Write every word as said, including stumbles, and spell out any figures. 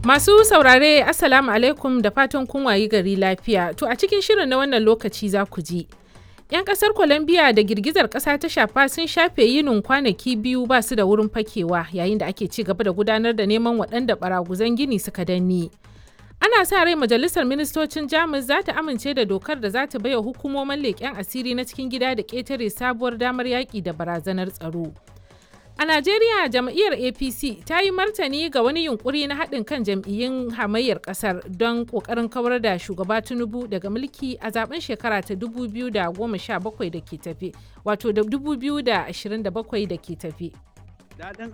Masu saurare, Assalamu alaikum, da fatan kun wayi gari lafiya. To, a cikin shirin na wannan lokaci za ku ji: 'Yan kasar Colombia da girgizar kasa ta shafa sun shafe yinin kwanaki biyu ba su da wurin fakewa yayin da ake ci gaba da gudanar da neman waɗanda baraguzan gini suka danne. Ana sa rai Majalisar Ministocin Jamus za ta amince da dokar da za ta baiwa hukumomin leƙen asiri na cikin gida da ƙetare sabuwar damar yaƙi da barazanar tsaro. A Najeriya, jam'iyyar A P C ta yi martani ga wani yunkuri na haɗin kan jam'iyyun hamayyar ƙasar don ƙoƙarin kawar da shugaba Tinubu daga mulki a zaben shekara ta dubu biyu da goma sha bakwai da ke tafe, wato da dubu biyu da ashirin da bakwai da ke tafe. Daɗin